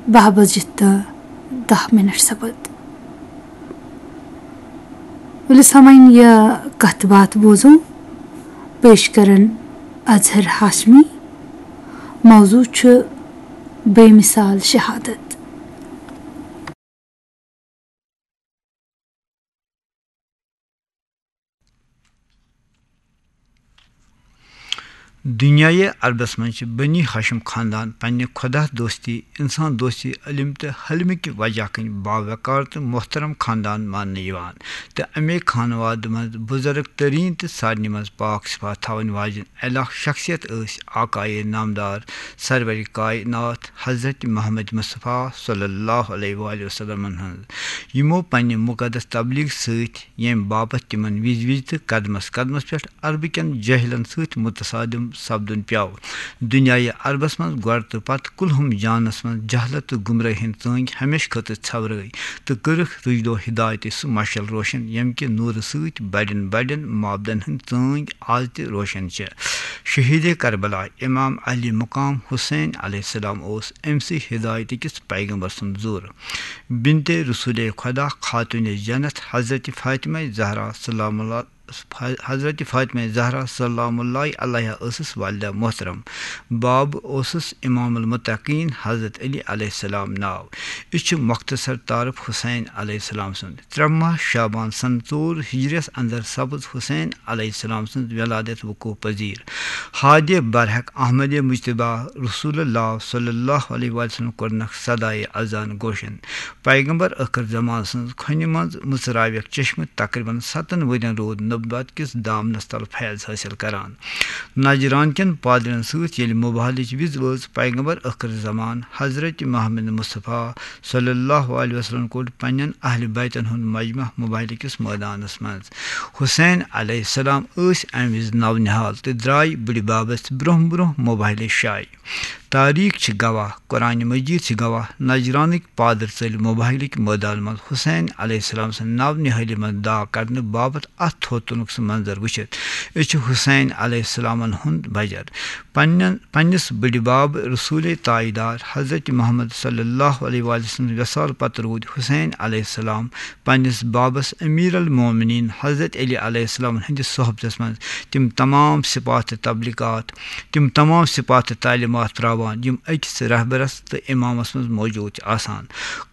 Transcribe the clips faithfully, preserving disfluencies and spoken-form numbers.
باہ بجہِ تہٕ دَہ مِنٹ سپد۔ ؤلِو سامعیٖن، یہِ کتھ باتھ بوزو۔ پیش کرن اظہر ہاشمی۔ موضوع چھُ بے مثال شہادت۔ دنیاہہِ عربس منٛز چھِ بنی ہاشم خاندان پننہِ خدا دوستی، انسان دوستی، علم تہٕ حلمہٕ کہِ وجہ کِنۍ باوقار تہٕ محترم خاندان ماننہٕ یِوان، تہٕ امے خانوادٕ منٛز بزرگ ترین تہٕ سارنٕے منٛز پاک صفات تھاوَن واجٮ۪ن الہ شخصیت ٲسۍ آقایے نامدار سرور کائنات حضرت محمد مصطفیٰ صلی اللہ علیہ وآلہ وسلمن ہٕنٛز، یِمو پننہِ مقدس تبلیغ سۭتۍ ییٚمہِ باپتھ تِمن وِزِ وِزِ تہٕ قدمس قدمس پٮ۪ٹھ عربہٕ کٮ۪ن جٲہلن سۭتۍ متصادم سپدُن پیوٚو۔ دنیاہہِ عربس منٛز گۄڈٕ تہٕ پتہٕ کُلہُم جانس منٛز جہلت تہٕ گمرٲہی ہٕنٛدۍ ژٲنٛگۍ ہمیشہٕ خٲطرٕ ژھٮ۪ورٲے تہٕ کٔرٕکھ رُجدو ہدایتٕچ سُہ مشعل روشن، ییٚمہِ کہِ نوٗرٕ سۭتۍ بڑٮ۪ن بڑٮ۪ن معبدن ہٕنٛدۍ ژٲنٛگۍ آز تہِ روشن چھِ۔ شہیٖدِ کربلا امام علی مقام حسین علیہ السلام اوس أمۍ سٕے ہدایتہٕ کِس پیغمبر سُنٛد زُر۔ بنتِ رسول خدا خاتون جنت حضرت فاطمہ زہرا سلام اللہ، حضرت فاطمہ زہرا سلام اللہ علیہا ٲسٕس والدہ محترم۔ باب اوسُس امام المتقین حضرت علی علیہ السلام ناو۔ یہِ چھُ مختصر تعارف حسین علیہ السلام سُنٛد۔ ترٛےٚ ماہ شعبان سنہٕ ژور ہجریس اندر سپٕز حسین علیہ السلام سٕنٛز ولادت وقوع پذیر۔ ہادِ برحق احمد مجتبیٰ رسول اللہ صلی اللہ علیہ وسلم کوٚرنکھ صدائے اذان گوشن۔ پیغمبر ٲخر زمان سٕنٛز کھۄنہِ منٛز مٕژراویکھ چشمہٕ۔ تقریباً ستن ؤرین روٗد نبوت کِس دامنس تل فیض حٲصِل کران۔ نجران کٮ۪ن پادرٮ۪ن سۭتۍ ییٚلہِ مباہلٕچ وِز وٲژ، پیغمبر ٲخر زمان حضرت محمد مصطفیٰ صلی اللہ علیہ وسلم کوٚڑ پننٮ۪ن اہلِ بیتن ہُنٛد مجمع مباہلہٕ کِس مٲدانس منٛز۔ حسین علیہ السلام ٲسۍ امہِ وِزِ نو نہال تہٕ درٛاے بٕڈِ بابس برونٛہہ برونٛہہ مباہلہٕ شایہِ۔ تاریخ چھِ گواہ، قرآن مجید چھِ گواہ، نجرانٕکۍ پادر ژٔلۍ مباہلٕکۍ مٲدان منٛز حسین علیہ السلام سٕنٛدِ نو نہٲلی منٛز داغ کڑنہٕ باپتھ اتھ تھوٚد تُلنُک سُہ منظر وٕچھِتھ۔ أسۍ چھِ حسین علیہ السلامن ہُنٛد بجر۔ پننٮ۪ن، پننِس بٕڈِ باب رسول تاجدار حضرت محمد صلی اللہ علیہ وآلہ وسلم وصال پتہٕ روٗدۍ حسین علیہ السلام پننِس بابس امیر المومنین حضرت علی علیہ السلام ہٕنٛدِس صحبتس منٛز تِم تمام صفات تہٕ تبلیغات، تِم تمام صفات تہٕ تعلیمات تراوان، یِم أکِس رہبرس تہٕ امامس منٛز موجود چھِ آسان۔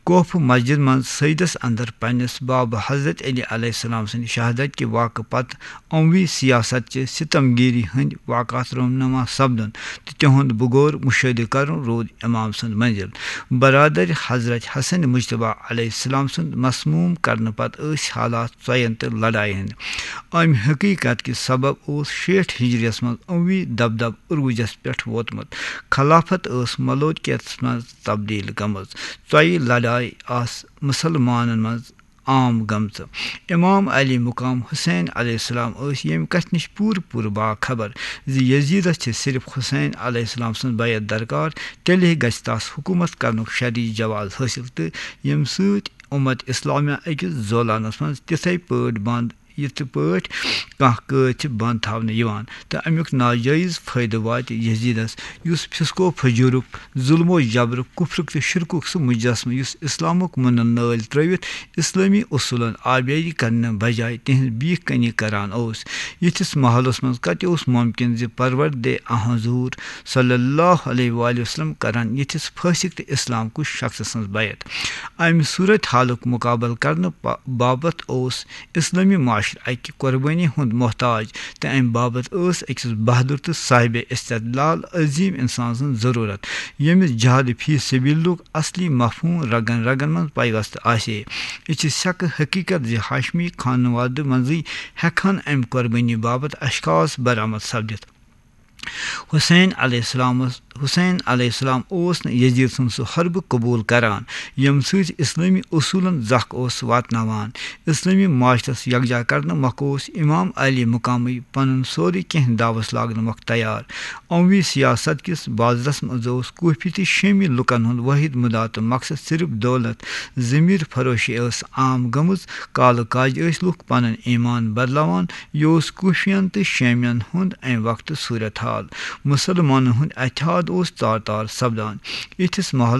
کوفہٕ مسجد منٛز سجدس اندر پننِس باب حضرت علی علیہ السلام سٕنٛدِ شہادت کہِ واقعہٕ پتہٕ عموی سیاست چہِ ستم گیری ہٕنٛدۍ واقعات رونما سپدُن تہٕ تِہُنٛد بغور مشاہدٕ کرُن روٗد امام سٕنٛز منزل۔ برادر حضرت حسن مجتبیٰ علیہ السلام سُنٛد مسموم کرنہٕ پتہٕ ٲسۍ حالات ژۄین تہٕ لڑایہِ ہٕنٛدۍ۔ امہِ حقیقت کہِ سبب اوس شیٹھ ہجریس منٛز عموی دبدب عروجس پٮ۪ٹھ ووتمُت۔ خلافت ٲس ملوکیتس منٛز تبدیل گٔمٕژ۔ ژۄیہِ لڑایہِ آسہٕ مسلمانن منٛز عام گٔمژٕ۔ امام علی مقام حسین علیہ السلام ٲسۍ ییٚمہِ کتھِ نِش پوٗرٕ پوٗرٕ باخبر زِ یزیدس چھِ صرف حسین علیہ السلام سٕنٛز بیعت درکار، تیٚلے گژھِ تس حکومت کرنُک شرعی جواز حٲصِل تہٕ ییٚمہِ سۭتۍ امت اسلامیہ أکِس زولانس منٛز تِتھے پٲٹھۍ بند، یِتھ پٲٹھۍ کانٛہہ قٲد چھِ بند تھاونہٕ یِوان۔ تہٕ امیُک ناجٲیز فٲیدٕ واتہِ یزیدس، یُس فسق و فجورُک، ظلم و جبرُک، کفرُک تہٕ شرکُک سُہ مجسمہٕ، یُس اسلامُک مُنن نٲلۍ ترٲوِتھ اسلٲمی اصوٗلن آبیٲری کرنہٕ بجایہِ تِہنٛز بیٖکھ کنی کران اوس۔ یِتھِس ماحولس منٛز کتہِ اوس ممکن زِ پروردِ حضور صلی اللہ علیہ وآلہ وسلم کرن یِتھِس فٲسق تہٕ اسلام کُش شخص سٕنٛز بیعت؟ امہِ صورت حالُک مقابلہٕ کرنہٕ پا-، باپتھ اوس اسلٲمی معاشرٕ اکہِ قربٲنی ہُنٛد محتاج، تہٕ امہِ باپتھ ٲس أکِس بہادر تہٕ صاحبِ استدلال عظیم انسان سٕنٛز ضروٗرت، ییٚمِس جہاد فی سبیلُک اصلی مفہوم رگن رگن منٛز پیوستہٕ آسہِ ہے۔ یہِ چھِ سیکہٕ حقیقت زِ ہاشمی خانوادٕ منٛزٕے ہیٚکہٕ ہن امہِ قربٲنی باپتھ اشخاص برآمد سپدِتھ۔ حسین علیہ السلامس، حسین علیہ السلام اوس نہٕ یزید سُنٛد سُہ حربہٕ قبول کران، ییٚمہِ سۭتۍ اسلٲمی اصوٗلن زکھ اوس واتناوان۔ اسلٲمی معاشرس یکجا کرنہٕ مۄکھٕ اوس امام علی مقامی پنُن سورُے کینٛہہ داوس لاگنہٕ مۄکھٕ تیار۔ عموی سیاست کِس بازرس منٛز اوس کوفی تہٕ شٲمی لوٗکن ہُنٛد وٲحد مُدا تہٕ مقصد صرف دولت، ضمیر فروشی ٲس عام گٔمٕژ۔ کالہٕ کاجہِ ٲسۍ لوٗکھ پنُن ایمان بدلاوان۔ یہِ اوس کوفین تہٕ شٲمین ہُنٛد امہِ وقتہٕ صورت حال۔ مُسلمانن ہُنٛد اتحاد اوس تار تار سپدان۔ یِتھِس ماحولس